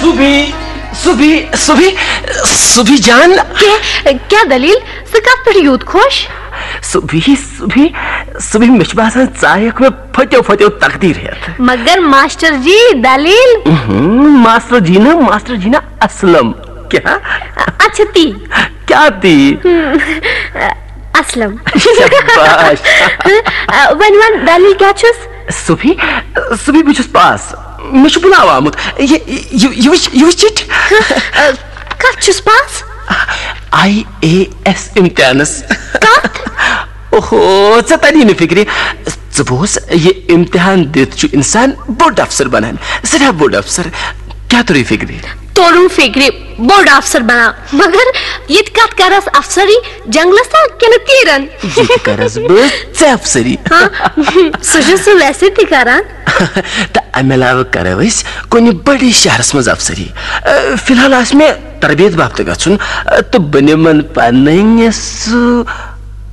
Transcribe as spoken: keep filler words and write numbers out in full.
صبحی، صبحی، صبحی، صبحی جان۔ کیٛاہ، کیٛاہ دٔلیٖل؟ ژٕ کَتھ پٮ۪ٹھ یوٗت خۄش؟ صبحی، صبحی، صبحی، مےٚ چھُ باسان، ژٕ آیَکھ مےٚ پھٔتیو پھٔتیو تقدیٖر ہٮ۪تھ۔ مگر ماسٹر جی، دٔلیٖل؟ اہم، ماسٹر جی نہٕ، ماسٹر جی نہٕ، اسلم۔ کیٛاہ؟ اچھا، تی۔ کیٛاہ تی؟ ہم، اسلم۔ شاباش۔ وۄنۍ وَن، دٔلیٖل کیٛاہ چھُس؟ صبحی، صبحی، بہٕ چھُس پاس۔ مےٚ چھُ بُلاو آمُت۔ یہِ، یہِ، یہِ وٕچھ، یہِ وٕچھ چِٹھۍ۔ کَتھ چھُس پاس؟ آی اے ایس امتحانس۔ کَتھ؟ اوہو، ژےٚ تَری نہٕ فِکرِ۔ ژٕ بوز، یہِ امتحان دِتھ چھُ اِنسان بوٚڑ افسر بنان، سٮ۪ٹھاہ بوٚڑ افسر۔ کیٛاہ توٚرُے فِکرِ؟ توٚرُم فِکرِ، بوٚڑ افسر بنان۔ مگر ییٚتہِ کَتھ کَرَس افسری، جنگلس تل کِنہٕ تیٖرن؟ ییٚتہِ کَرَس بہٕ ژےٚ افسری۔ ہاں، سُہ چھُ سُہ ویسے تہِ کران۔ تہٕ اَمہِ علاوٕ کَرو أسۍ کُنہِ بٔڑِس شہرس منٛز افسری۔ اَ، فی الحال آسہِ مےٚ تربیت باپتہٕ گژھُن، اَ، تہٕ بہٕ نِمن پنٕنۍ سُہ